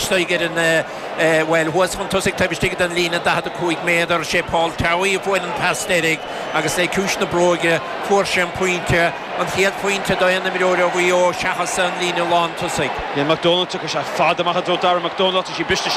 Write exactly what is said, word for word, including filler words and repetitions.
istigh ar an bhuel thuas chun tosaigh taobh istigh den líne daichead a cúig méadar sé Paul Towey a fuair an pas deiridh agus le ciumhais na bróige fuair sé an pointe an chéad phointe d'aon imreoir ó Mhaigh Eo seachas an líne lántosaigh. Yeah, McDonald tiocfaidh sé fada amach i dtreo Dara McDonald tá sí briste